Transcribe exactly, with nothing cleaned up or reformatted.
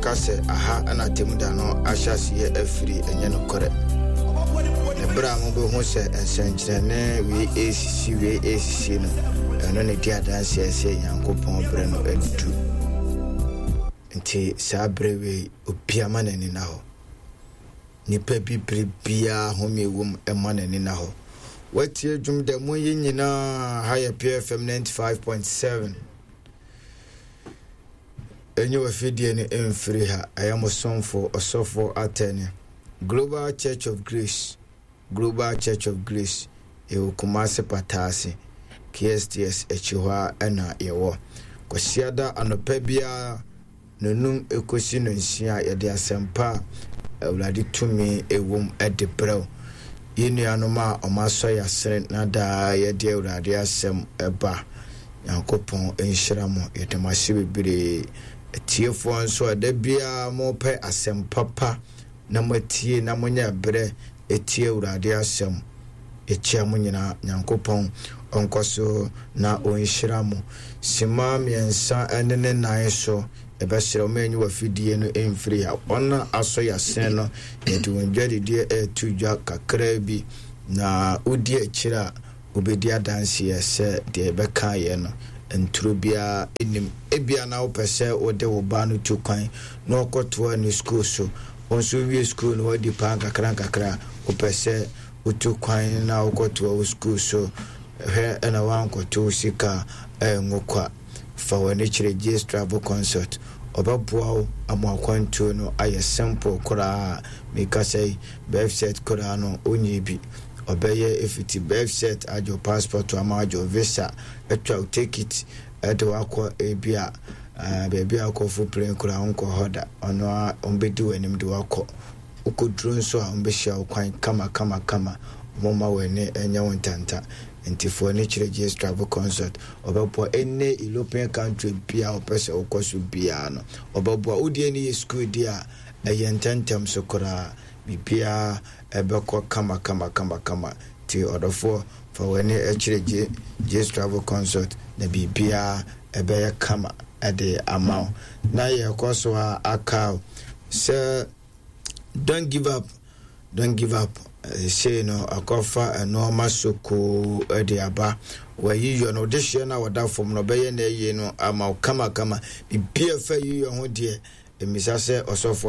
Yɛka sɛ aha ɛna atemmuda no ahyɛ aseɛ afiri, ɛnyɛ nokorɛ. Na berɛ a mobɛhu sɛ nsɛnkyerɛnne wei ɛresisi, wei ɛresisi no, ɛno ne di adanseɛ sɛ Nyankopɔn berɛ no adu. Nti saa berɛ wei, obia ma n'ani na hɔ. Nipa bi bere biara home wɔ mu, ɛma n'ani na hɔ. Watie dwom da mu yi nyinaa. Ha yɛ P F M ninety-five point seven. Ɛnyɛ wafidie no ɛmfiri ha. Ɛyɛ mo somfo Ɔsɔfo Atɛne, Global Church of Grace. Global Church of Grace, yɛwɔ Kumase Pataase, K S T S akyi hɔ a ɛna yɛwɔ. Kwasiada anɔpa biara nonum ekosi no nsia, yɛde asɛmpa a Awurade tumi ɛwom ɛde brɛw yɛn nuanom a ɔmo asɔ yɛ asene na daa yɛde Awurade asɛm ɛba. Nyankopɔn nhyira mo, yɛde mo ase bebree. Atiefoɔ nso a da biara mopɛ asɛm papa na moatie na monyɛ berɛ ɛtie Awurade asɛm, yɛkyia mo nyinaa. Nyankopɔn ɔnkɔ so na ɔnhyira mo. Sima mmiɛnsa ne ne nan so, yɛbɛsrɛ wo ma wafidie no ɛmfiri ha. Wɔn a asɔ yɛasene no, yɛde wɔn dwadideɛ ɛreto dwa kakraa bi, na wodi akyire a, wobɛdi adanseɛ sɛ deɛ yɛbɛka yɛ no nturo biara nim. Ebia na wopɛ sɛ wode wo ba no tu kwan na ɔkɔtoa ne school so. Wo nso wie school no, wadi paa nkakra nkakra, wopɛ sɛ wotu kwan na wokɔtoa wo school so. Hwɛ, ɛna woankɔto wo sika ɛngo kwa. Fa w'ani kyerɛ Gs Travel Consult, ɔbɛboa wo ama akwantuo no ayɛ simple koraa. Meka sɛ birth cert koraa no wonyɛ bi, ɔbɛyɛ. Ɛfiti birth cert, agye wo passport ama, agye wo visa, atwa wo ticket, ɛde wakɔ ebi a baabi a akɔfo plane koraa wonkɔ hɔ da. Ɔno a ɔmbɛdi w'anim de wakɔ. Wokɔduro nso a, ɔmbɛhyia wo kwan kama kama kama. Ɔmoma w'ani ɛnyɛ wo ntanta. Nti fo ani kyerɛ Gs Travel Consult, ɔbɛboa. Ɛnɛ European country bia ɔpɛ sɛ wokɔ so biara no, ɔbɛboa. Wodie no yɛ school di a, ɛyɛ ntɛntɛm so koraa, biribiara ɛbɛkɔ kama kama kama kama. Nti ɔdɔfoɔ, fa w'ani kyerɛ Gs Travel Consult na biribiara ɛbɛyɛ kama ɛde ama wo. Na yɛkɔ so a, aka sɛ don't give up, don't give up. Sei no akɔfa nneɛma sokoo de aba. Wɔayi yɔ no, ɔde hyɛ no a wɔda fam no, ɔbɛyɛ no ayie no ama wo kamakama. Biribiara fa yi yɔ ho deɛ, mmisa sɛ ɔsɔfoɔ.